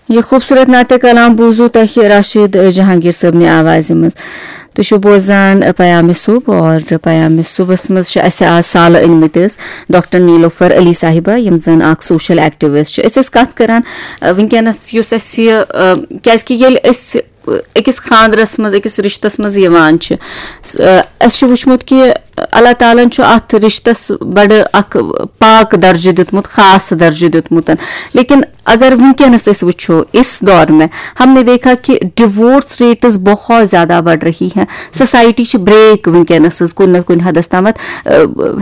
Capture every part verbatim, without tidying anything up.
یہِ خوٗبصوٗرت نعتِ کلام بوٗزوٕ تۄہہِ راشد جہانگیر صٲبنہِ آوازِ منٛز۔ تُہۍ چھِو بوزان پیام صبح، اور پیام صبحس منٛز چھِ اَسہِ آز سالہٕ أنمٕتۍ حظ ڈاکٹر نیلوفر علی صاحبہ، یِم زَن اکھ سوشل ایکٹیوسٹ چھِ۔ أسۍ ٲسۍ کَتھ کران، آ، وٕنکیٚنَس یُس اَسہِ یہِ، آ، کیازِ کہِ ییٚلہِ أسۍ، آ، أکِس خانٛدرس منٛز، أکِس رِشتَس منٛز یِوان چھِ، س-، آ، اَسہِ چھُ وٕچھمُت کہِ اللہ تعالیٰ ہن چھُ اَتھ رِشتَس بَڑٕ اکھ پاک درجہٕ دیُتمُت، خاص درجہٕ دیُتمُت۔ لیکن اگر وٕنکیٚنَس أسۍ وٕچھو، اس دور میں ہم نے دیکھا کہ ڈیورس ریٹس بہت زیادہ بڑھ رہی ہیں۔ سوسائٹی چھِ بریک وٕنکیٚنَس حظ کُنہِ نہ کُنہِ حدس تامَتھ، آ،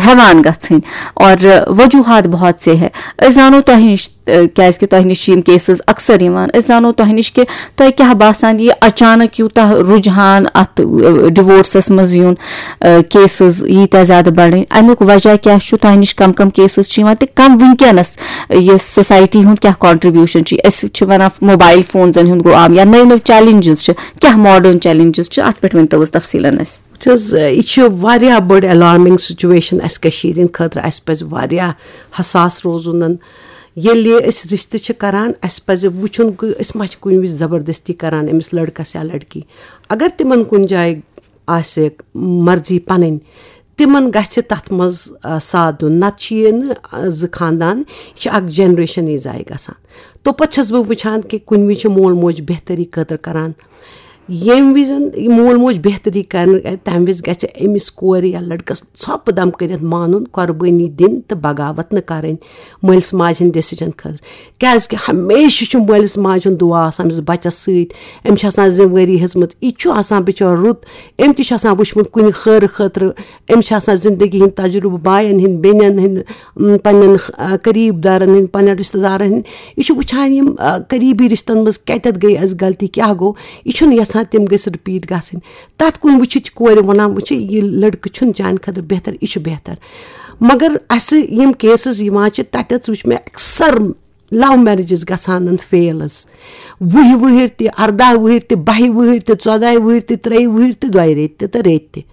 ہٮ۪وان گژھٕنۍ۔ اور وجوہات بہت سے ہے۔ أسۍ زانو تۄہہِ نِش، آ، کیازِ کہِ تۄہہِ نِش چھِ یِم کیسز اکثر یِوان۔ أسۍ زانو تۄہہِ نِش کہِ تۄہہِ کیٛاہ باسان، یہِ اچانک یوٗتاہ رُجحان اَتھ، آ، ڈیورسَس منٛز یُن، آ، کیسز ییٖتیٛاہ زیادٕ بڑٕنۍ، اَمیُک وجہ کیٛاہ چھُ؟ تۄہہِ نِش کم کم کیسز چھِ یِوان تہٕ کم وٕنکیٚنَس یہِ سوسائٹی ہُنٛد کیٛاہ کانٹریبیوشن چھِ؟ أسۍ چھِ وَنان موبایل فونزَن ہُنٛد گوٚو عام یا نٔوۍ نٔوۍ چیلنجز چھِ، کیٛاہ ماڈٲرن چیلنجز چھِ؟ اَتھ پٮ۪ٹھ ؤنۍ تو حظ تفصیٖلن اَسہِ۔ وٕچھ حظ، یہِ چھِ واریاہ بٔڑ الارمنگ سچویشن اَسہِ کٔشیٖرِ ہِنٛدِ خٲطرٕ۔ اَسہِ پَزِ واریاہ حساس روزُن۔ ییٚلہِ أسۍ رِشتہٕ چھِ کران، اَسہِ پَزِ وٕچھُن کہِ أسۍ ما چھِ کُنہِ وِزِ زبردستی کران أمِس لڑکس یا لڑکی۔ اگر تِمن کُنہِ جایہِ آسہِ مرضی پنٕنۍ، تِمن گژھِ تتھ منٛز، آ، ساتھ دیُن، نتہٕ چھِ یہِ نہٕ، آ، زٕ خاندان، یہِ چھِ اکھ جنریشن یہِ ضایع گژھان۔ توپتہٕ چھَس بہٕ وٕچھان کہِ کُنہِ وِزِ چھِ مول موج بہتری خٲطرٕ کران، ییٚمہِ وِزِ یہِ مول موج بہتری کرنہٕ، تمہِ وِزِ گژھِ أمِس کورِ یا لڑکس ژھۄپہٕ دم کٔرِتھ مانُن، قۄربٲنی دِنۍ تہٕ بغاوت نہٕ کرٕنۍ مٲلِس ماجہِ ہٕنٛدِ ڈیسیجن خٲطرٕ۔ کیازِ کہِ ہمیشہِ چھُ مٲلِس ماجہِ ہُنٛد دُعا آسان أمِس بچس سۭتۍ، أمِس چھِ آسان ذمہٕ وٲری ہیٚژمٕژ۔ یہِ تہِ چھُ آسان بِچور رُت، أمۍ تہِ چھُ آسان وٕچھمُت کُنہِ خٲرٕ خٲطرٕ، أمِس چھِ آسان زندگی ہٕنٛدۍ تجرُبہٕ، باین ہٕنٛدۍ، بیٚنٮ۪ن ہٕنٛدۍ، م، پننٮ۪ن، آ، قریب دارن ہٕنٛدۍ، پننٮ۪ن رشتہٕ دارن ہٕنٛدۍ۔ یہِ چھُ وٕچھان یِم، آ، قریبی رشتن منٛز کتٮ۪تھ گٔے اسہِ غلطی، کیٛاہ گوٚو۔ یہِ چھُنہٕ یژھان تِم گٔژھۍ رِپیٖٹ گژھٕنۍ۔ تتھ کُن وٕچھِتھ چھِ کورِ ونان، وٕچھِ، یہِ لڑکہٕ چھُنہٕ چانہِ خٲطرٕ بہتر، یہِ چھُ بہتر۔ مگر اسہِ یِم کیسز یِوان چھِ، تتٮ۪تھ وٕچھ مےٚ اکثر لو میریجز گژھان فیل حظ۔ وُہہِ وُہٕرۍ تہِ، ارداہ وُہٕرۍ تہِ، بَہہِ وُہٕرۍ تہِ، ژۄداہہِ وُہٕرۍ تہِ، ترٛیہِ وُہٕرۍ تہِ، دۄیہِ ریٚتۍ تہِ تہٕ ریٚتۍ تہِ۔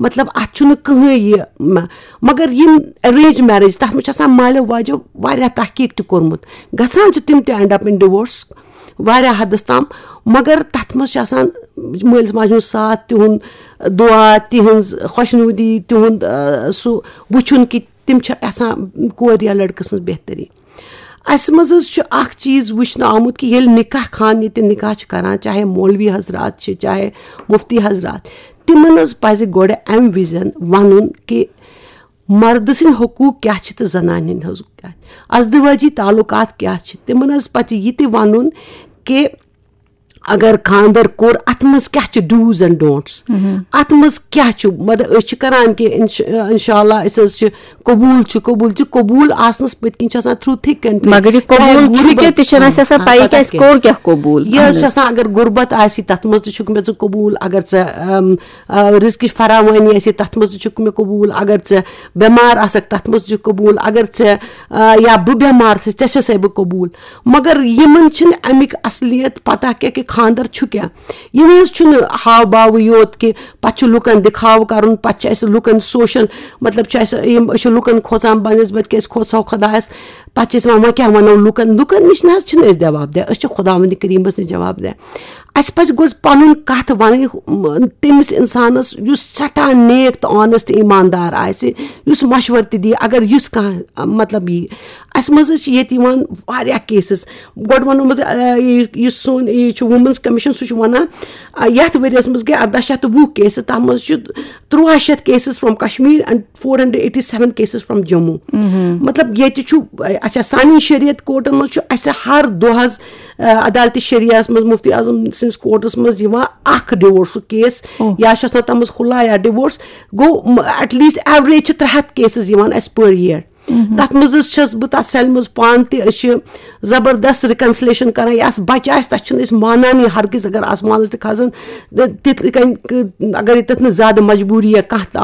مطلب، اتھ چھُنہٕ کٕہٕنۍ یہِ، مہ-، مگر یِم ارینج میریج، تتھ منٛز چھُ آسان مالیو واجو واریاہ تحقیق تہِ کوٚرمُت۔ گژھان چھِ تِم تہِ اینڈ اپ ان ڈیورس واریاہ حدس تام، مگر تتھ منٛز چھُ آسان مٲلِس ماجہِ ہُنٛد ساتھ، تِہُنٛد دُعا، تِہنٛز خۄشنودی، تِہُنٛد، آ، سُہ وٕچھُن کہِ تِم چھِ یژھان کورِ یا لڑکہٕ سٕنٛز بہتری۔ اسہِ منٛز حظ چھُ اکھ چیٖز وٕچھنہٕ آمُت کہِ ییٚلہِ نکاح خان ییٚتہِ نکاح چھِ کران، چاہے مولوی حضرات چھِ، چاہے مفتی حضرات، تِمن حظ پزِ گۄڈٕ امہِ وِزن ونُن کہِ مردٕ سٕنٛدۍ حقوٗق کیٛاہ چھِ تہٕ زنانہِ ہٕنٛدۍ حقوٗق کیٛاہ چھِ، ازدواجی تعلقات کیٛاہ چھِ۔ تِمن حظ پزِ یہِ تہِ ونُن کہِ اگر خانٛدر کوٚر، اتھ منٛز کیٛاہ چھِ do's and don'ts، اتھ منٛز کیٛاہ چھُ، مطلب، أسۍ چھِ کران کہِ انش-، انشاءاللہ أسۍ حظ چھِ قبوٗل چھُ، قبوٗل چھُ، قبوٗل آسنس پٔتۍ کِنۍ چھُ آسان through thick and thin۔ مگر یہِ چاہے قبوٗل چھُ غُربت، کیٛاہ، تہِ چھَنہٕ اَسہِ آسان آ، پَیی پَتہ کیٛاہ اَسہِ کیٛاہ۔ کوٚر کیٛاہ قبوٗل۔ یہِ حظ چھُ آسان، اگر غُربت آسی، تَتھ منٛز تہِ چھُکھ مےٚ ژٕ قبوٗل، اگر ژےٚ، اَم، آ، رِزقٕچ فراوٲنی آسی، تَتھ منٛز تہِ چھُکھ مےٚ قبوٗل، اگر ژےٚ بٮ۪مار آسَکھ، تَتھ منٛز تہِ چھُکھ قبوٗل، اگر ژےٚ، آ، یا بہٕ بٮ۪مار چھَس، ژےٚ چھَسَے بہٕ قبوٗل۔ مگر یِمَن چھِنہٕ اَمِکۍ اصلیت پَتہ کیٛاہ کہِ خانٛدر چھُ کیٛاہ۔ یِم حظ چھُنہٕ ہاو باوٕے یوت کہِ پتہٕ چھُ لُکن دِکھاو کرُن، پتہٕ چھِ اَسہِ لُکن سوشل، مطلب، چھُ اَسہِ یِم، أسۍ چھِ لُکن کھوژان بنسبت کہِ أسۍ کھوژو خۄدایس، پتہٕ چھِ أسۍ وَنان، وۄنۍ کیٛاہ وَنو لُکن؟ لُکن نِش نہ حظ چھِنہٕ أسۍ جواب دِوان، أسۍ چھِ خۄداوندِ کریٖمس نِش جواب دِوان۔ اَسہِ پَزِ گۄڈٕ پَنُن کَتھ وَنٕنۍ، م-، تٔمِس اِنسانَس یُس سٮ۪ٹھاہ نیک تہٕ honest ایٖماندار آسہِ، یُس مَشوَرٕ تہِ دِیہِ، اگر یُس کانٛہہ، مطلب، یی۔ اَسہِ منٛز حظ چھِ ییٚتہِ یِوان واریاہ cases۔ گۄڈٕ وَنو بہٕ، آ، یہِ، یُس سون یہِ چھُ Women's Commission، سُہ چھُ وَنان، آ، یَتھ ؤریَس منٛز گٔے اَرداہ شیٚتھ تہٕ وُہ cases، تَتھ منٛز چھُ تُرٛواہ شیٚتھ cases from Kashmir and four hundred eighty seven cases from Jammu۔ مطلب، ییٚتہِ چھُ، اچھا، سانہِ شریعت کورٹن منٛز چھُ اَسہِ ہر دۄہ حظ، آ، عدالتِ شریعہس منٛز مفتی اعظم سٕنٛدِس کورٹس منٛز یِوان اکھ ڈِوورسُک case، اوہ۔ یا چھُ آسان تَتھ منٛز خُلع یا ڈِوورس۔ گوٚو، م-، at least average چھِ ترٛےٚ ہَتھ cases یِوان اَسہِ per year۔ تَتھ منٛز حظ چھَس بہٕ تَتھ cellہِ منٛز پانہٕ تہِ، أسۍ چھِ زبردست reconciliation کران۔ یَس بَچہٕ آسہِ، تَس چھِنہٕ أسۍ مانانٕے ہرگز، اگر آسمانَس تہِ کھسن، تہٕ تِتھ کٔنۍ، اگر ییٚتٮ۪تھ نہٕ زیادٕ مجبوٗری یا کانٛہہ تہِ